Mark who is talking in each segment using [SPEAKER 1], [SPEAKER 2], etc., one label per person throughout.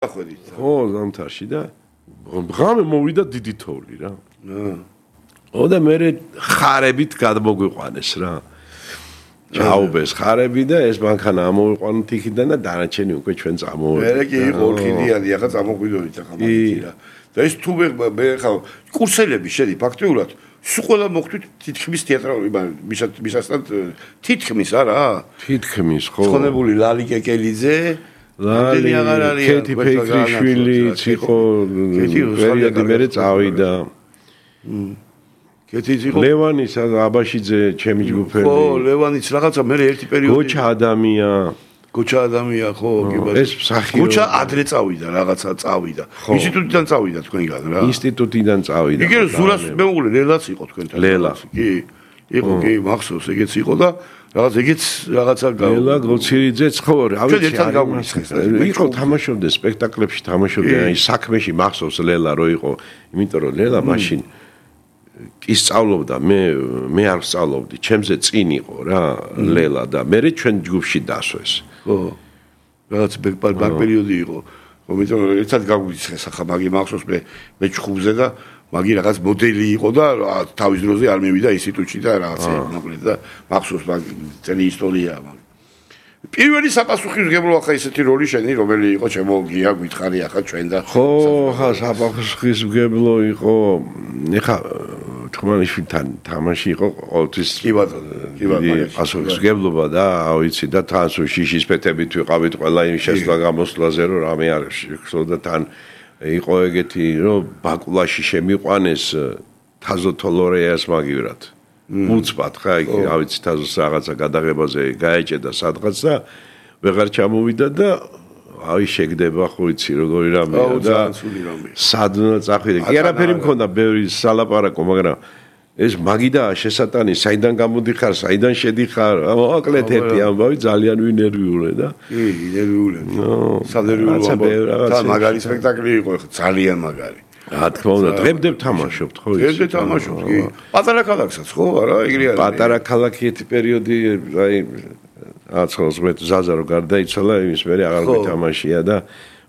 [SPEAKER 1] ხო, ზამთარში და ღამე მოვიდა დიდი თოვლი რა. და მე ხარებით გადმოგვიყვანეს რა. ჩაუბეს ხარები და ეს მანქანა ამოვიყვანოთ იქიდან და დანარჩენი უკვე ჩვენ წამოვედი.
[SPEAKER 2] მე კი იყო ორქიდეანი, ახლა წამოგვიდოდით ახლა მაგით რა. და ეს თუ მე ხა კურსელები შედი ფაქტიურად სულ ყველა მოხდით თითქმის თეატრალური მისასთან თითქმის არა?
[SPEAKER 1] თითქმის ხო.
[SPEAKER 2] ხონებული ლალი კეკელიძე
[SPEAKER 1] ლალი კეთი ფეიქრიშვილი იყო პერიოდი მე წავიდა. კეთიც იყო ლევანის აბაშიძე ჩემი ჯგუფელი.
[SPEAKER 2] ხო, ლევანიც რაღაცა მე ერთი პერიოდი
[SPEAKER 1] გოჩა ადამია
[SPEAKER 2] ხო, კი ბატონო.
[SPEAKER 1] ეს მსახიობი.
[SPEAKER 2] გოჩა ადრე წავიდა, რაღაცა წავიდა. ინსტიტუტიდან წავიდა თქვენგან რა.
[SPEAKER 1] ინსტიტუტიდან წავიდა.
[SPEAKER 2] იგი ზურას მეუღლე ლელაც იყო თქვენთან.
[SPEAKER 1] ლელა.
[SPEAKER 2] კი. იყო კი, მახსოვს, ეგეც იყო და ეგეც რაღაცა
[SPEAKER 1] ლელა გოცირიძეც ხო, რა ვიცი, იყო თამაშობდა სპექტაკლებში, თამაშობდა აი საქმეში მახსოვს ლელა რო იყო, იმიტომ რომ ლელა მაშინ კი სწავლობდა, მე არ სწავლობდი, ჩემზე წინ იყო რა ლელა და მე ჩვენ ჯგუფში დასვეს.
[SPEAKER 2] ხო. რაღაც ბაკ პერიოდი იყო. იმიტომ რომ ერთად გაგვიცხეს ახლა მაგი მახსოვს მე ჩხუბზე და მაგი რაღაც მოდელი იყო და თავის დროზე არ მივიდა ინსტიტუტში და რაღაცა მოკლედ და მახსოვს მაგი წელი ისტორია მაგი. პირველი საპასუხისმგებლო ახლა ისეთი როლი შენი რომელი იყო ჩემო გია გითხარი ახლა ჩვენ და
[SPEAKER 1] ხო ხა საპასუხისმგებლო იყო ეხა თქმანიშვილთან თამაში იყო ყოველთვის
[SPEAKER 2] კი ბატონო
[SPEAKER 1] პასუხისმგებლობა და ავიცი და თან სულ შიშის ფეთებით ვიყავით ყველა იმ შესვლა გამოსვლაზე რომ რამე არ შეხვდა და თან იყო ეგეთი რომ ბაკულაში შემიყვანეს თაზო თოლორეას მაგივრად უცბად ხა იქ ავიცი თაზოს რაღაცა გადაღებაზე გაეჭედა სადღაც და ვეღარ ჩამოვიდა და აი შეგდება ხო იცი როგორი რამეა და სადნა წახვიდა კი არაფერი მქონდა ბევრი სალაპარაკო მაგრამ ეს მაგიდა შესატანი საიდან გამოდიხარ საიდან შედიხარ მოკლედ ერთი ამბავი ძალიან ვინერვიულე და
[SPEAKER 2] კი ნერვიულე სადერვიულე და მაგარი სპექტაკლი იყო ძალიან მაგარი
[SPEAKER 1] რა თქმა უნდა დღემდე ვთამაშობთ ხო
[SPEAKER 2] იცი დღემდე თამაშობთ კი პატარა ქალაქსაც ხო არა ეგრე არის
[SPEAKER 1] პატარა ქალაქი ერთი პერიოდი აი აცხოს მე ზაზა რო გარდაიცვალა იმის მე აღარ გითამაშია და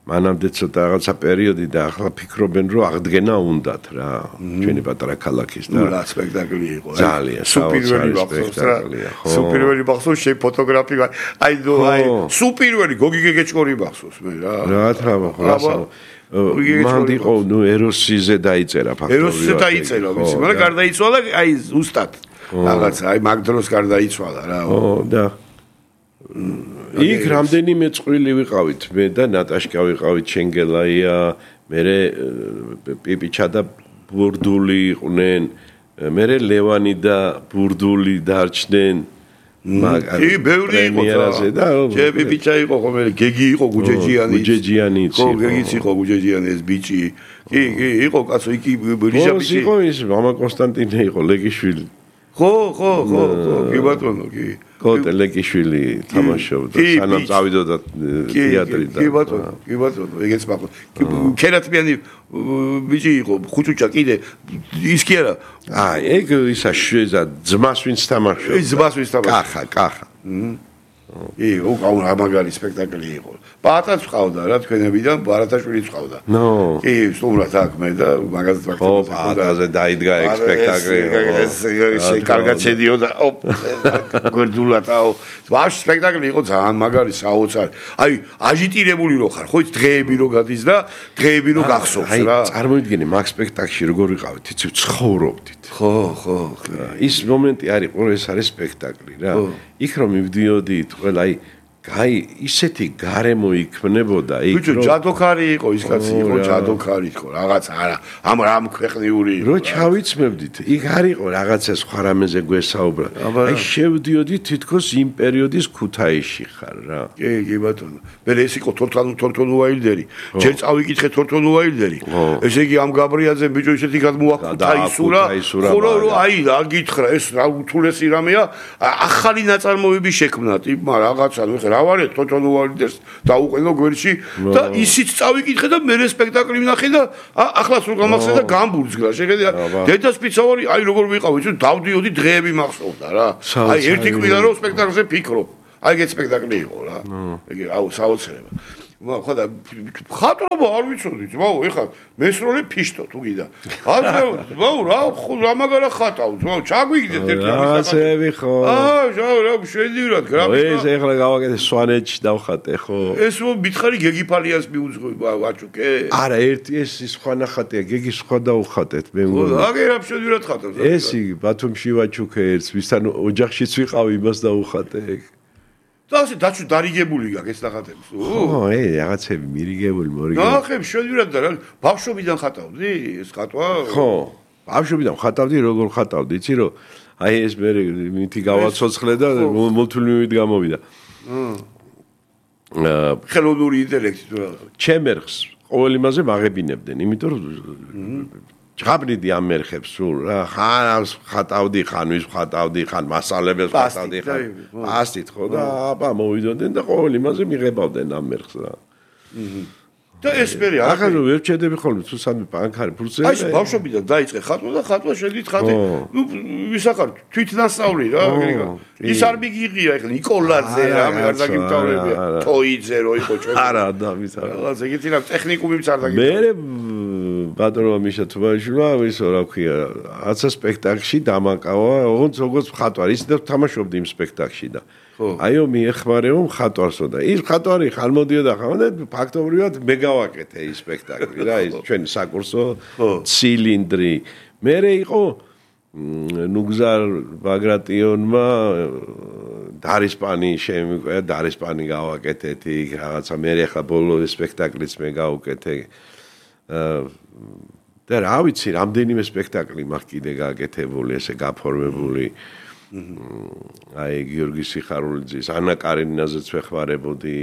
[SPEAKER 1] მანამდე ცოტა რაღაცა პერიოდი და ახლა ფიქრობენ რომ აღდგენა უნდათ რა ჩვენი პატარა ქალაქის და
[SPEAKER 2] რა სპექტაკლი იყო
[SPEAKER 1] ძალიან
[SPEAKER 2] სუპირველი სპექტაკლია ხო სუპირველი ბახსოვს შე ფოტოგრაფი აი სუპირველი გოგი გეგეჭკორი ბახსოვს მე რა
[SPEAKER 1] რა რა მანდ იყო ნუ ეროსიზე დაიწერა ფაქტობრივად
[SPEAKER 2] ეროსიზე დაიწერა ვიცი მაგრამ გარდაიცვალა აი ზუსტად რაღაცა აი მაგ დროს გარდაიცვალა რა
[SPEAKER 1] ხო და იქ რამდენიმე წვრილი ვიყავით მე და ნატაშკა ვიყავით შენგელაია მე პიპიჩა და ბურდული იყვნენ მე ლევანი და ბურდული დარჩნენ
[SPEAKER 2] კი ბევრი იყო და ჯე პიპიჩა იყო ხო მე გეგი იყო გუჯეჯიანი
[SPEAKER 1] იყო
[SPEAKER 2] ხო გეგიც იყო გუჯეჯიანი ეს ბიჭი კი იყო კაცო იქ რიჟაბიჭი
[SPEAKER 1] იყო ის მამა კონსტანტინე იყო ლეგიშვილი
[SPEAKER 2] ხო კი ბატონო კი
[SPEAKER 1] კოტე ლეკიშვილი თამაშობდა სანამ წავიდოდა თეატრიდან
[SPEAKER 2] კი ბატონო ეგეც მახსოვს ქერათმიანი ბიჭი იყო ხუჭუჭა კიდე ის კი არა
[SPEAKER 1] ეგ ისა შეზა ძმას ვინც თამაშობდა
[SPEAKER 2] ძმას ვინც
[SPEAKER 1] თამაშობდა კახა
[SPEAKER 2] კი უკაუნა მაგარი სპექტაკლი იყო პატაც ყავდა რა თქვენებიდან ბარათაშვილიც ყავდა კი სტუმრად აქ მე და მაგაზე ვაკეთებდა
[SPEAKER 1] ხო პატაზე დაიდგა ეგ სპექტაკლი
[SPEAKER 2] ეს კარგად შედიოდა გორდულათაო ვаш სპექტაკლი იყო ძალიან მაგარი საოცარი აი აჟიტირებული რო ხარ ხო ის დღეები რო გადის და დღეები რო გახსოვს რა
[SPEAKER 1] წარმოიდგინე მაგ სპექტაკლში როგორ ვიყავით იცი ცხოვრობდით
[SPEAKER 2] ხო
[SPEAKER 1] ის მომენტი არის ყო ეს არის სპექტაკლი რა იქ რომ მივდიოდით ყველა აი გაი ისეთი გარემო იქმნებოდა იქ
[SPEAKER 2] ბიჭო ჯადოქარი იყო ის კაცი იყო ჯადოქარი იყო რაღაც არა ამ ქვეყნიური
[SPEAKER 1] რო ჩავიცმებდით იქ არ იყო რაღაცა სხვა რამეზე გვესაუბრა აი შევდიოდით თითქოს იმ პერიოდის ქუთაისში ხარ რა
[SPEAKER 2] კი ბატონო მე ეს იყო თორთონ უაილდერი ჯერ წავიკითხე თორთონ უაილდერი ესე იგი ამ გაბრიაძე ბიჭო ისეთი გადმოაქუთაისურა ხო რომ აი რა გითხრა ეს რა უთულესი რამეა ახალი ნაწარმოები შექმნათ მაგრამ რაღაცა ნუ რა ვარ თორთონ უაილდერს დაუყენო გვერდში და ისიც წავიკითხე და მე სპექტაკლი ვნახე და ახლა სულ გამახსენდა გამბურძგრა შეხედა დედას პიცავარი აი როგორ ვიყავ ვიცი დავდიოდი დღეები მახსოვდა რა აი ერთი კვირა რომ სპექტაკლზე ფიქრობ აი ეგ სპექტაკლი იყო რა ეგ საოცრება ხოდა ხატრობა არ ვიცოდი ძმაო ეხლა მესროლე ფიშტო თუ გიდა ძმაო რა მაგარა ხატავ ძმაო ჩაგვიგდეთ ერთი
[SPEAKER 1] რაღაცები ხო
[SPEAKER 2] რა შედივრად გრაფიკა
[SPEAKER 1] ეს ეხლა გავაკეთე სვანეთში დავხატე ხო
[SPEAKER 2] ეს მითხარი გეგიფალიას მიუძღვე ვაჭუკე
[SPEAKER 1] არა ერთი ეს სხვა ნახატია გეგი სხვა დავხატეთ მე
[SPEAKER 2] აგე რა შედივრად ხატავს
[SPEAKER 1] ეს ბათუმში ვაჭუკე ერთს ვისთან ოჯახშიც ვიყავი იმას დავხატე
[SPEAKER 2] და ასე დაჩუ დარიგებული გაქვს ეს ნახატები
[SPEAKER 1] ხო რაღაცები მირიგებული მორიგებული
[SPEAKER 2] ნახებ შედივრად და რა ბავშვობიდან ხატავდი ეს ხატვა
[SPEAKER 1] ხო ბავშვობიდან ხატავდი როგორ ხატავდი იცი რომ აი ეს მე მითი გავაცოცხლე და მულტიმივით გამოვიდა
[SPEAKER 2] ხელოვნური ინტელექტი თუ რა
[SPEAKER 1] ჩემ ერხს ყოველ იმაზე მაღებინებდნენ იმიტომ რომ ჭაბრიდი ამ ერხებს სულ რა ხან ხატავდი ხან ვის ხატავდი ხან მასალებელს ხატავდი ხან პასტით ხო და აბა მოვიდოდნენ და ყოველ იმაზე მიღებავდნენ ამ ერხს რა
[SPEAKER 2] და ეს მე რა
[SPEAKER 1] ახლა ვერ ჩედები ხოლმე თუ სამი ბანკარი ფურცელი
[SPEAKER 2] აი ბავშვობიდან დაიწყე ხატვა და ხატვა შედით ხატე ნუ ვისახარ თვითნასწავლი რა ის არ მიგიღია ეხლა ნიკოლაძე რა მე არ დაგიმთავრებია თოიძე რო იყო ჩვენ
[SPEAKER 1] არა და ვის არა
[SPEAKER 2] რაღაცა ეგეთი რა ტექნიკუმიც არ დაგიმთავრებია
[SPEAKER 1] მე ბატონო მიშა თუბაშვილა ისო რა ქვია აცა სპექტაკლში დამაკავა როგორც მხატვარი ის და თამაშობდი იმ სპექტაკლში და აიო მიეხმარეო მხატვარსო და ის მხატვარი ხან მოდიოდა ხან და ფაქტობრივად მე გავაკეთე ის სპექტაკლი რა ის ჩვენი საკურსო ცილინდრი მე იყო ნუგზარ ბაგრატიონმა დარისპანი შემიყვება დარისპანი გავაკეთეთ იქ რაღაცა მე ახლა ბოლო სპექტაკლიც მე გავუკეთე და რა ვიცი რამდენიმე სპექტაკლი მაქვს კიდე გაკეთებული ესე გაფორმებული აი გიორგი სიხარულიძის ანა კარინინაზეც ვეხმარებოდი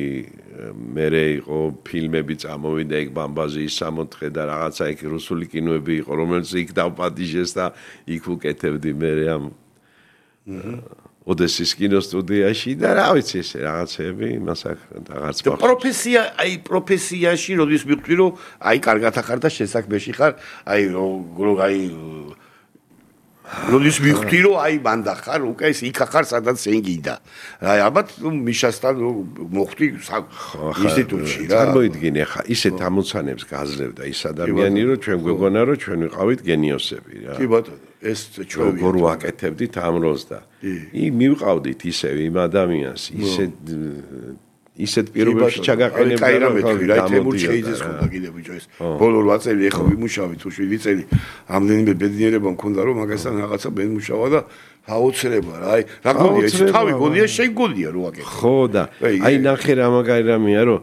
[SPEAKER 1] მე იყო ფილმები წამოვიდა იქ ბამბაზიის 64 და რაღაცა იქ რუსული კინოები იყო რომელიც იქ დავპატიჟეს და იქ უკეთებდი მე ამ ოდესის კინოსტუდიაში და რა ვიცი ესე რაღაცები იმას აღარც
[SPEAKER 2] მაქვს პროფესია აი პროფესიაში როდის მივხვდი რომ აი კარგად ახარ და შესაქმეში ხარ აი აი როდის მივხვდი რომ აი მანდა ხარ უკვე ეს იქ ახარ სადაც შენ გინდა აი ალბათ მიშასთან მოხვდი ინსტიტუტში რა
[SPEAKER 1] წარმოიდგინე ხა ისეთ ამოცანებს გაძლევდა ის ადამიანი რომ ჩვენ გვეგონა რომ ჩვენ ვიყავით გენიოსები რა
[SPEAKER 2] კი ბატონო ეს ჩვენ
[SPEAKER 1] როგორ ვაკეთებდით ამ როლს და მივყავდით ისევ იმ ადამიანს ისეთ პირობებში ჩაგაყენებდა
[SPEAKER 2] რომ რა თემურ შეიძეს ხოდა კიდე ბიჭო ეს ბოლო 8 წელი ეხა ვიმუშავი თუ 7 წელი ამდენიმე ბედნიერება მქონდა რომ მაგასთან რაღაცა მემუშავა და აუცილებლად რა აი რა გონია ეს თავი გონია შენ გონია რო აკეთე
[SPEAKER 1] ხო და აი ნახე რა მაგარი რამეა რომ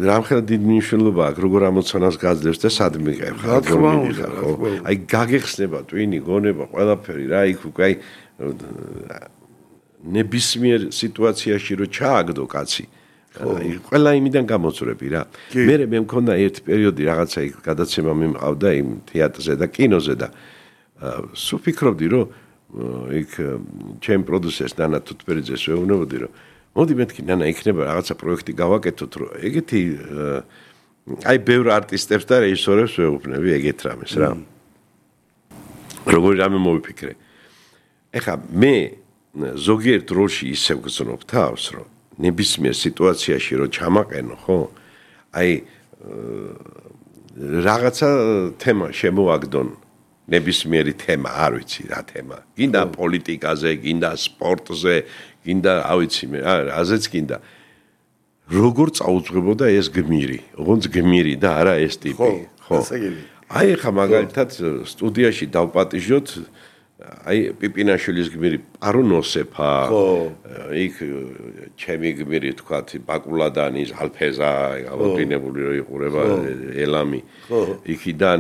[SPEAKER 1] რამხელა დიდ მნიშვნელობა აქვს როგორ ამოცანას გაძლევს და სად მიყევ
[SPEAKER 2] რა თქმა უნდა
[SPEAKER 1] აი გაგეხსნება ტვინი გონება ყველაფერი რა იქ უკვე აი ნებისმიერ სიტუაციაში რო ჩააგდო კაცი ყველა იმიდან გამოწრები რა მე მქონდა ერთი პერიოდი რაღაცა იქ გადაცემა მიმყავდა იმ თეატრზე და კინოზე და სულ ფიქრობდი რომ იქ ჩემ პროდიუსერს ნანა თუთბერიძეს ვეუბნებოდი რომ მოდი მეთქი ნანა იქნება რაღაცა პროექტი გავაკეთოთ რომ ეგეთი აი ბევრ არტისტებს და რეჟისორებს ვეუბნები ეგეთ რამეს რა როგორი რამე მოვიფიქრე ეხა მე ზოგიერთ როლში ისევ გრძნობ თავს რომ ნებისმიერ სიტუაციაში რომ ჩამაყენო ხო აი რაღაცა თემა შემოაგდონ ნებისმიერი თემა არ ვიცი რა თემა გინდა პოლიტიკაზე გინდა სპორტზე გინდა არ ვიცი მე რაზეც გინდა როგორ წაუძღვებოდა ეს გმირი ოღონდ გმირი და არა ეს ტიპი ხო აი ხა მაგალითად სტუდიაში დავპატიჟოთ აი პიპინაშვილის გმირი პარუნოსეფა იქ ჩემი გმირი თქვათ ბაკულადანის ალფეზა გავოდინებული რო იყურება ელამი იქიდან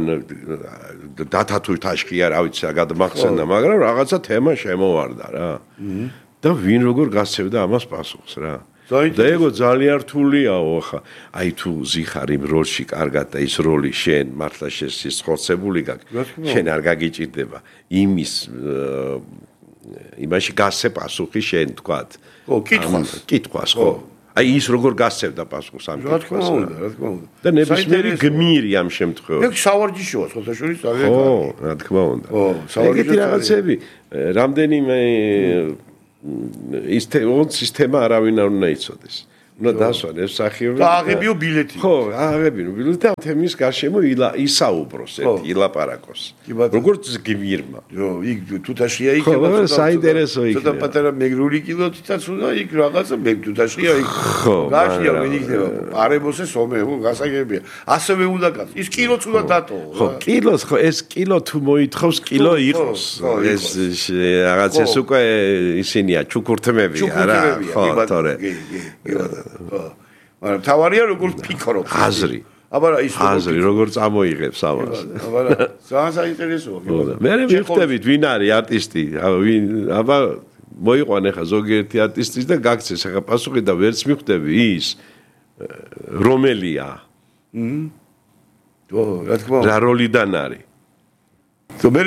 [SPEAKER 1] დათათუ თაშკია რა ვიცი გადმახსენდა მაგრამ რაღაცა თემა შემოვარდა რა და ვინ როგორ გასცევდა ამას პასუხს რა და ეგო ძალიან რთულიაო ხა აი თუ ზიხარ იმ როლში კარგად და ის როლი შენ მართლა შესხორცებული გაქვს შენ არ გაგიჭირდება იმის იმაში გასცე პასუხი შენ თქვათ
[SPEAKER 2] ხო
[SPEAKER 1] კითხვას ხო აი ის როგორ გასცევდა პასუხს ამ კითხვას
[SPEAKER 2] რა თქმა უნდა
[SPEAKER 1] და ნებისმიერი გმირი ამ შემთხვევაში
[SPEAKER 2] ეგ სავარჯიშოა ხოთაშორის ძალიან
[SPEAKER 1] კარგი ხო რა თქმა უნდა ხო სავარჯიშო რაღაცები რამდენიმე ის სისტემა არავინ არ უნდა იცოდეს უნდა დასვან ეს სახიობი.
[SPEAKER 2] და აღებიო ბილეთი.
[SPEAKER 1] ხო, აღებინო ბილეთი და თემის გარშემო ისაუბროს ერთი ილაპარაკოს. როგორც გმირმა.
[SPEAKER 2] იქ თუთაშია იქნება
[SPEAKER 1] ცოტა საინტერესო იქნება.
[SPEAKER 2] ცოტა პატარა მეგრული კილოთითაც უნდა იქ რაღაცა მე თუთაშია იქ. გაშია მე იქნება. პარებოსე სომე, გასაგებია. ასევე უნდა გას. ის კილოც უნდა დატოვო.
[SPEAKER 1] ხო, კილოს ხო ეს კილო თუ მოითხოვს კილო იყოს. ეს რაღაც ეს უკვე ისინია ჩუქურთმები არა? ხო, თორე.
[SPEAKER 2] მაგრამ თავარია როგორ ფიქრობ
[SPEAKER 1] აზრი
[SPEAKER 2] აბა ის
[SPEAKER 1] აზრი როგორ წამოიღებს ამას
[SPEAKER 2] აბა ძალიან საინტერესოა
[SPEAKER 1] მე მივხვდებით ვინ არის არტისტი აბა მოიყვანე ხა ზოგიერთი არტისტის და გაქცეს ხა პასუხი და ვერც მივხვდები ის რომელია
[SPEAKER 2] რა თქმა უნდა
[SPEAKER 1] რა როლიდან არის
[SPEAKER 2] თუ მე